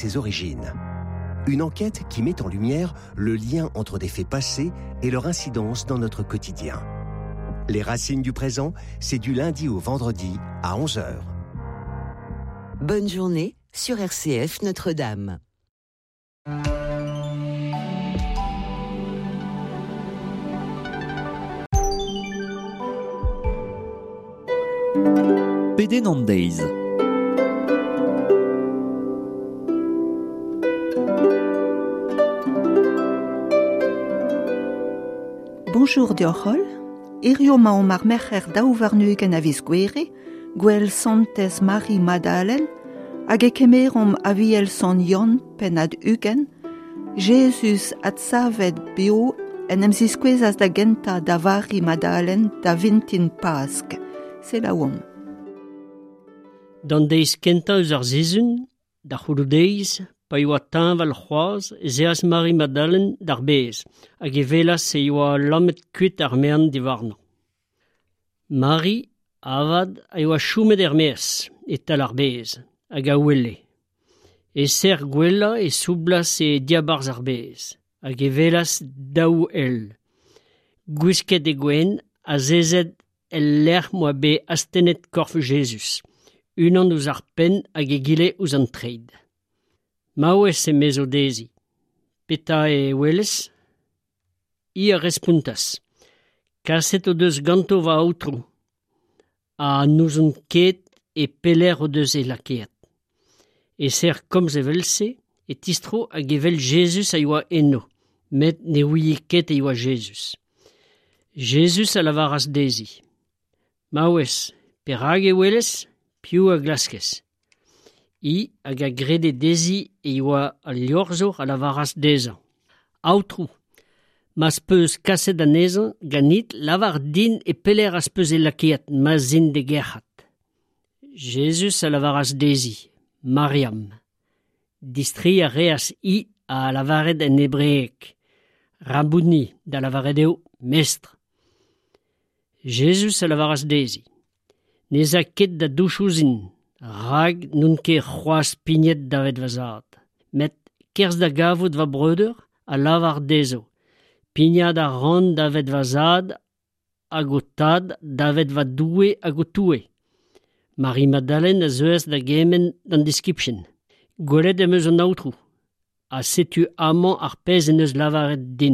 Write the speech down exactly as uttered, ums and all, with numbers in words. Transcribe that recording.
Ses origines. Une enquête qui met en lumière le lien entre des faits passés et leur incidence dans notre quotidien. Les racines du présent, c'est du lundi au vendredi à onze heures. Bonne journée sur R C F Notre-Dame. P D Nandez. Bonjour deoc'h holl, hirio ma omp ar merc'her daou warn-ugent a viz Gouere, gwell Santez Mari Madalen, hag e kemeromp aviel Sant Yann pennad ugent, Jezuz adsavet beo en em ziskouezas da gentañ da Vari Madalen da vintin Pask. Selaouomp. D'an deiz kentañ eus ar sizhun, da c'houloù-deiz, pa oa teñval c'hoazh, ez eas Mari Madalen d'ar bez, hag e welas e oa lammet kuit ar maen diwarnañ. Mari, avat, a oa chomet er-maez, e-tal ar bez, hag a ouele. E ser gwellañ e soublas e diabarzh ar bez, hag e welas daou ell. Gwisket e gwenn, azezet el lec'h m'oa bet astennet korf Jezuz, unan ouzh ar penn hag egile ouzh an treid. Maouez emezo dezhi. Petra e welez? Hi a respontas. Kaset o deus ganto va aotrou, ha n'ouzon ket e pelec'h o deus e lakaet. E ser komz evel-se, e tistro hag evel Jezuz a yoa eno, met ne ouie ket e oa Jezuz. Jezuz a lavaras dezhi. Maouez, perak e welez? Piv a glaskez? Hi hag a grede dezhi e oa al liorzhour a lavaras dezhañ. Aotrou, ma'z peus kaset anezhañ ganit, lavar din e pelec'h az peus e lakaet, ma'z in d'e gerc'hat. Jezuz a lavaras dezhi, Mariam. Distreiñ a reas hi a lavaret en hebreeg. Rabouni, da lavaret eo, mestr. Jezuz a lavaras dezhi. N'ez a ket da douch ouzhin, rak n'on ket c'hoazh pignet davet va zad. Met kerzh da gavout va breudeur a lavar dezho. Pignat a ran davet va zad hag ho tad davet va Doue hag ho Toue. Mari Madalen a zeuas da gemenn d'an diskibien. Gwelet em eus an aotrou, ha setu amañ ar pezh en deus lavaret din.